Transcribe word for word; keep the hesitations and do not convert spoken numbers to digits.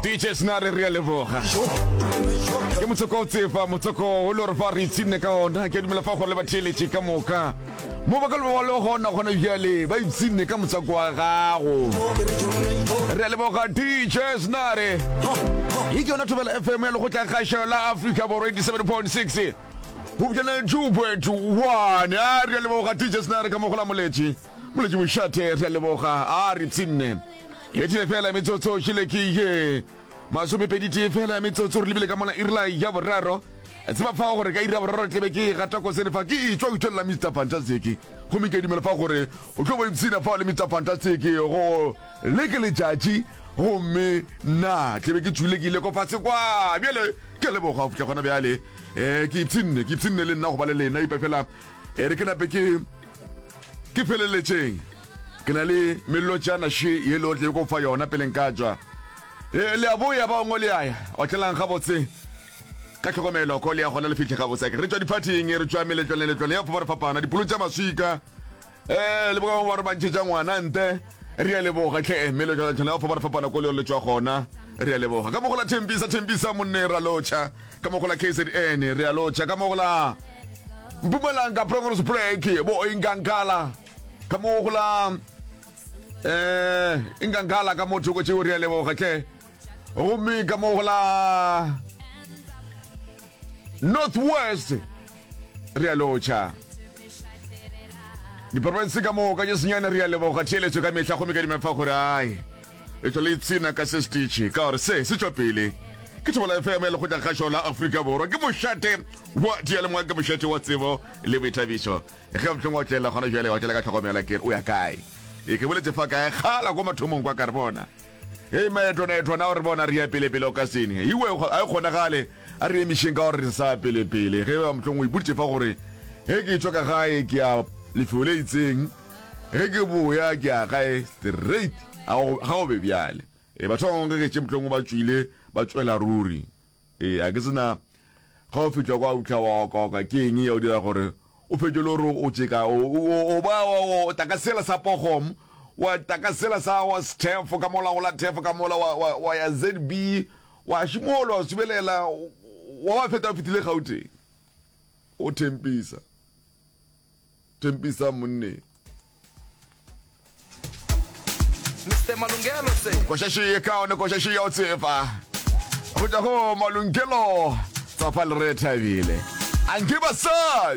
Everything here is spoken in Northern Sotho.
D J Snare, re a leboga. Ke motsoko o tsefa motsoko o le gore fa re ipshinne ka ona. Ke a dumela fa gore le batheeletše ka moka mo ba ka le ba le gona gona bjale ba ipshinne ka motswako wa gago. Re a leboga, D J Snare. Ye ke yona Thobela F M ya Lekgotla Kgašo la Afrika Borwa, eighty-seven point six go bjana two point one. A re a leboga, D J Snare, ka mogola moletši moletši mošate. Re a leboga, a re ipshinne. Etile fela metsotso šile ke ye masomepedi tee fela metsotso re lebile ka mola irila ya boraro. Tseba fa gore ka ira boraro tlebe ke gata kosene fa ke etswa utswelela Mister Fantastic, gomme ke dumela fa gore o tlo bo ipshina fa le Mister Fantastic go le ke letšatši, gomme nna tlebe ke tswile ke ile ko fase kwa. Bjale ke leboga go fitlha gona bjale. um ke ipshinne, ke ipshinne le nna go ba le lena ipa fela. E re ke nape ke ke feleletšeng, ke na le melotšana še ye le otle ko fa yona pele nka tšwa. E le a boya ba bangwe le aya otlelang gabotse ka tlhokomelo ko le ya gona le fitlhe gabotse. Re tšwa diphathing, re tšwa meletlwane letlwane ya fapana fapana, dipolo tša maswika um le bangwe ba re ba ntšhetša ngwana nte. Re a leboga tlhe, meletlwane ya fapana fapana ko le le tšwa gona. Re a leboga ka mogola Thempisa, Thempisa monne ra lotšha, ka mogola K Z N re a lotšha, ka mogola Mpumalanga Bronkhorstspruit, bo Inkankala, ka mogola eh Inkankala ka motho ko tšeo. Re a leboga tlhe. Gomme ka mogola North West re a lotšha, diporofense ka moka tše senyane re a leboga theeletšo ka mehla, gomme ka dimefa gore ai e tšwa le ipshina ka se stitche ka gore se se tšwa pele ke Thobela F M ya Lekgotla Kgašo la Afrika Borwa. Ke mošate wa diyalemoya, ke mošate wa tsebo le boithabišo. Ge mohlong wa tlela gona jale wa tlela ka tlhokomela ke o ya kae. E ke boletse fa kae kgala ko mathomong kwa ka re bona hei maetwana etwana o re bona re ya pele-pele o ka sene iwe a e kgonagale a re emišeng ka gore re sa pele-pele. Ge ba mohlong o ipoditše fa gore ge ke tšwa ka gae ke ya lefelo le itseng, ge ke boya ke ya gae straight, ga go be bjale. E batho ba bangwe ge ke tše mohlong ba tšwile ba tšwela ruri. E a ke sena ga o fihla kwa utlha wa oka ke eng ya o dira gore o fetše le gore o tše ka o ba o taka sela sa pogom wa taka sela sa wa stefo ka mola go la thefo ka mola wa wa ya Z B wa šimola wa subelela wa ba feta o fitile Gauteng o thempisa thempisa monne. Mister Malungelo se. Košaši e kaone, košaši ya o tsefa go tšwa go Malungelo Tsapa le re thabile anke basadi.